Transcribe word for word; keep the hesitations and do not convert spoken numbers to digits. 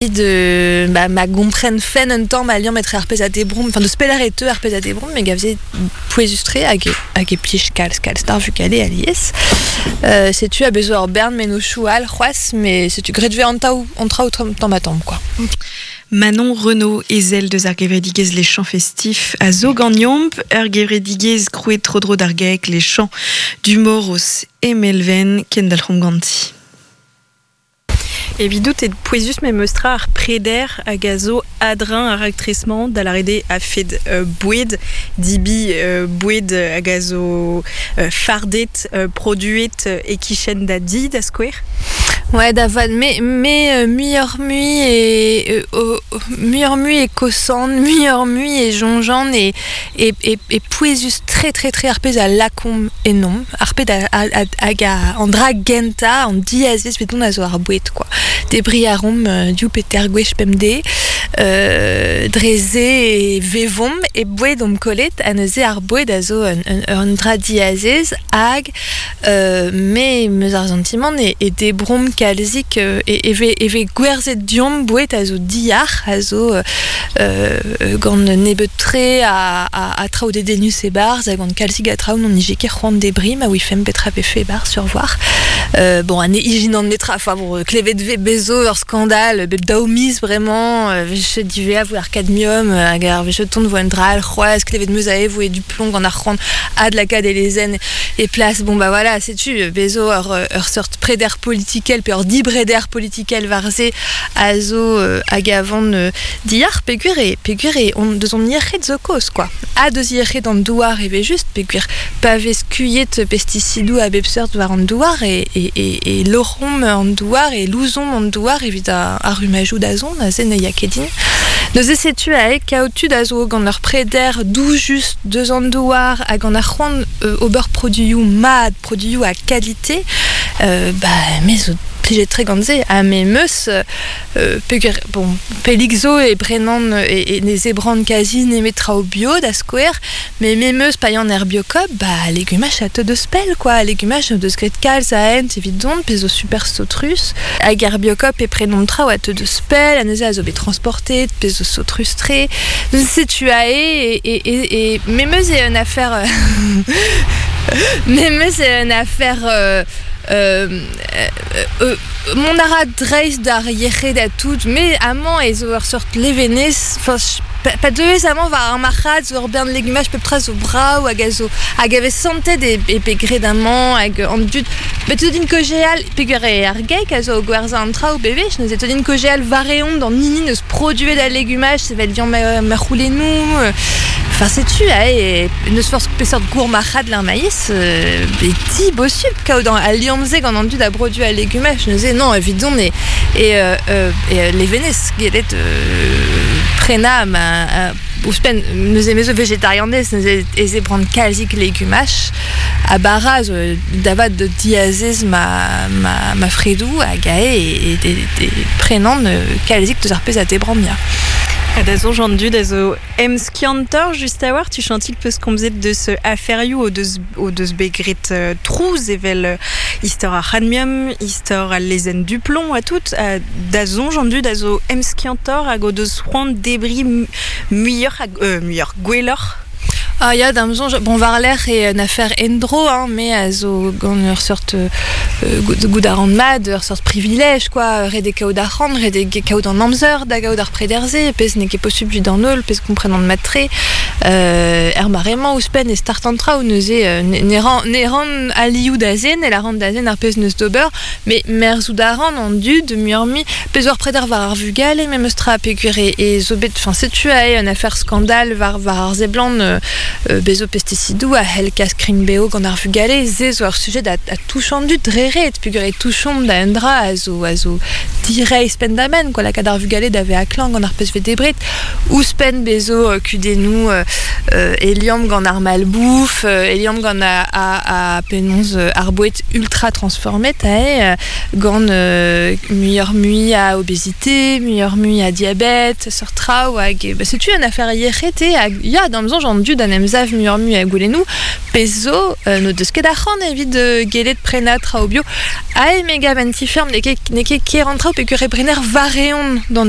De ba, ma gompren fen un tamm a liamm etre ar pezh a debromp, enfin deus pelec'h e teu ar pezh a debromp, me gavze pouezus-tre hag e, hag e plij kalz kalz d'ar vugale alies. Euh, setu a bezo ur bern mennozhioù all c'hoazh, mais setu graet vez an taou, an traoù tamm ha tamm, quoi. Manon Renaud, ezel deus ar gevredigezh Les Champs Festifs a zo ganeomp, ur gevredigezh krouet tro-dro d'ar GAEC Les Champs du Moros e Melven, kendalc'homp ganti. Evidout e pouezus memes tra ar preder hag a zo a-dreñv ar raktres-mañ da lâret eo a-fed euh, boued, dibi euh, boued hag a zo euh, fardet, euh, produet e-kichen da di da skouer. Ouais, da vat, me, me euh, muioc'h-mui e, euh, muioc'h-mui e kosan, muioc'h-mui e soñjan e, e, e, e pouezus tre tre tre ar pezh a lakomp ennomp, ar pezh a, a, a, hag a, an dra gentañ, an diazez evidon a zo ar boued, quoi. Debriñ a reomp euh, div pe teir gwech bemdez, euh, dre se e vevomp e boued omp kollet, ha neuze ar boued a zo un, un, un dra diazez hag euh, me 'meus ar santimant e, e debromp kalzik euh, e, e vez, e vez gwerzhet deomp boued a zo diyac'h, a zo euh, gant nebeut-tre a, a, a traoù dedennus e-barzh, hag gant kalzik a traoù n'hon nije ket c'hoant debriñ, ma ouifemp petra vefe e-barzh sur voir. Euh, bon, an ijinan netra, enfin bon, klevet vez bezo ur skandal, bep daou miz bremañ, euh, vez divea vo ar cadmium, hag ar vez tont vo un dra all c'hoazh, klevet 'meus aze voe du plomb gant ar c'hoant adlakaat e lezenn e plas. Bon bah voilà, setu bezo ur, ur seurt preder politikel pe ur dibreder politikel war se a zo euh, hag a van euh, diyac'h peogwir e peogwir e on deus hon yec'hed zo kaoz, quoi. Ha deus yec'hed an douar e vez just, peogwir pa vez skuilhet pestisidoù a bep seurt war an douar e, e, e, e loc'homp an douar e louzomp an douar evit ar, ar rummajoù da zont, aze ne ya ket din. Neuze setu ae kaout tud a zo gant ur preder doujus deus an douar hag gant ar c'hoant euh, ober produioù mat, produioù a kalite, euh, ba me zo plijet tre gant se, ha me 'meus euh, peogwir, bon, pellik zo e brenan e, e ne zebran kazi nemet traoù bio da skouer, mais me 'meus paean er Biocoop, ba legumaj a teu deus pell, quoi, legumaj deus graet kalz a hent evit dont, pe zo super saotrus, hag er Biocoop e prenomp traoù a teu deus pell, ha neuze a zo bet transportet, pe zo saotrus-tre. Neuze setu ae e, e, e, e me 'meus e un affaire me 'meus e un affaire euh, euh, euh, mont a ra dreist d'ar yec'hed ha tout, mais amañ e zo ur seurt levenez, enfin, pa, pa deuez amañ war ar marc'had zo ur bern legumaj pep tra zo brav hag a zo hag a vez santet e, e pe graet amañ hag an dud bet teu din kaozeal peogwir eo ar GAEC a zo o gwerzhañ an traoù bewech, neuze teu din kaozeal war-eeun d'an hini neus produet al legumaj sevel liamm ma, ma c'houlennoù, enfin setu ae neus forzh peseurt gourmarc'had l'ar maïs, euh, be ti bosupl kaout an al liamm-se gant an dud a brodu al legumaj, neuze non evidon e e, euh, euh, e levenez gellet euh, prenañ ma euh, ouzhpenn neuze me zo vegetarianez neuze e zebran kalzik legumaj ha bara zo da vat diazez ma, ma, ma fredoù hag ae e, e, e, e prenan kalzik deus ar pezh a debran ya. Ha da soñj an dud a zo emskiantoc'h just a-walc'h, tuchantik peus komzet deus aferioù o deus, o deus bet graet euh, trouz evel euh, istor ar c'hadmium, istor al lezenn Duplomb ha tout, ha da soñj an dud a zo emskiantoc'h hag o deus c'hoant debriñ muioc'h hag euh, muioc'h gwelloc'h. Ah ya, d'am soñj, bon war-lerc'h eo un affaire endro, hein, me a zo gant ur seurt euh, goût a ran mat, ur seurt privilège, quoi, ret eo kaout arc'hant, ret eo kaout an amzer da gaout ar preder-se, pezh n'eo ket posupl evit an holl, pezh komprenan mat-tre, euh, er mare-mañ ouzhpenn e start an traoù neuze euh, ne ran, ne ran alioù da zen, e lâran da zen ar pezh neus d'ober, mais merzout a ran an dud muioc'h-mui, pezh ur preder war ar vugale memes tra peogwir e, e zo bet, enfin setu ae un affaire scandale war, war ar seblant euh, euh, bezo pesticidoù a c'hell kas krign-bev gant ar vugale, se zo ur sujet a, a touch an dud dre ret, peogwir e touchomp da un dra a zo, a zo direizh penn-da-benn, quoi, lakaat ar vugale da vezañ klañv gant ar pezh vez debret, ouzhpenn bezo euh, kudennoù euh, euh, e liamm gant ar malbouf, euh, e liamm gant a, a, a penaos euh, ar boued ultra transformet ae, euh, gant euh, muioc'h-mui a obésité, muioc'h-mui a diabète, seurt traoù hag, ba, setu un affaire yec'hed eo hag ya, d'am soñj an dud an em sav muioc'h-mui a goulennoù, pezh zo euh, n'o deus ket arc'hant evit euh, gellet prenañ traoù bio. skolio, a e mega venti ferm ne ket ne ket ker an traoù pe ur brener vareon d'an dud.